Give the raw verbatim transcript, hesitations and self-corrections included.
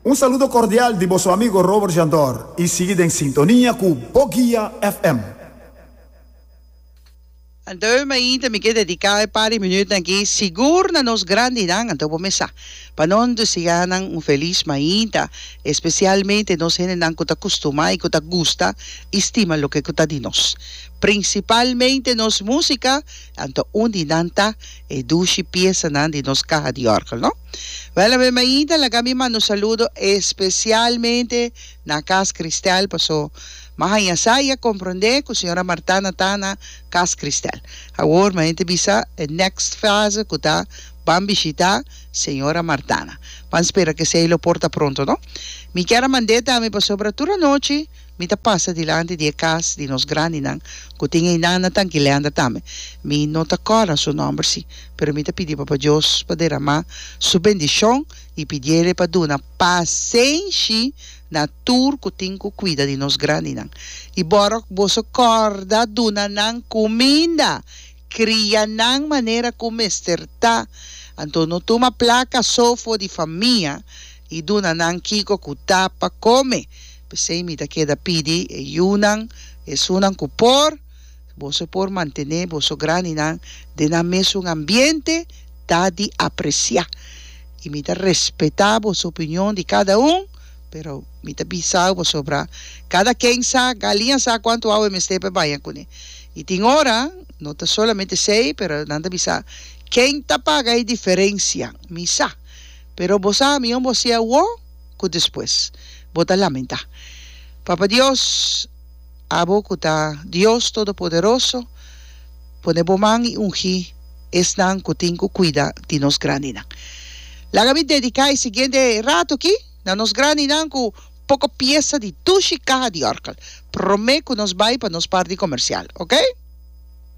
Un saludo cordial di boso amigo Robert Jandor y sigui den sintonia cu Boguia F M. Anto mainta mi ke dediká e par di minüt aki sigur na nos grandinan. Anto kuminsá pa nos deseá nan un felis mainta, espesialmente nos hendenan ku ta kustumá i ku ta gusta i stima loke ku ta di nos, prinsipalmente nos músika. Anto un di nan ta e dushi piesanan di nos kaha di òrgel, no? Wèl, awe mainta laga mi manda un saludo espesialmente na Cas Cristal, pasó m'a haña sa i a komprondé ku señora Martana ta na Cas Cristal. Awor, mi ta bisa next fase ku ta ban bishitá señora Martana. Ban spera ku esei lo por ta pronto, no? Mi ke manda tambe pasobra tur anochi mi ta pasa dilanti di kas di nos grandinan ku tin einan na Tanki Leander tambe. Mi no ta kòrda su nòmber sí, pero mi ta pidi Papa Dios pa derama su bendishon i pidié pa duna pasenshi na tur ku tin ku kuida di nos grandinan. I boro boso kòrda duna nan kuminda, kria nan manera ku mester ta. Anto no tuma plaka so for di famia i duna nan kiko ku ta pa kome. P'esei mi ta keda pidi e yunan, esunnan ku por, boso por mantené boso grandinan den nan mesun ambiente, ta di apresiá. I mi ta respetá boso opinion di kada un, pero mi ta bisa pasobra kada ken sa, galiña sa kuantu awa mester pa baña kuné. I tin ora, no ta solamente esei, pero nan ta bisa, ken ta paga e diferensia? Mi sa. Pero bo sa, mihó bo hasié awor ku despues bo ta lamentá. Papa Dios, abo ku ta Dios Todopoderoso, pone bo man i ungi esnan ku tin ku kuida di nos grandinan. Laga mi dediká e siguiente ratu aki na nos grandinan ku poko piesa di dushi kaha di òrgel. Promé ku nos bai pa nos parti komersial, ok?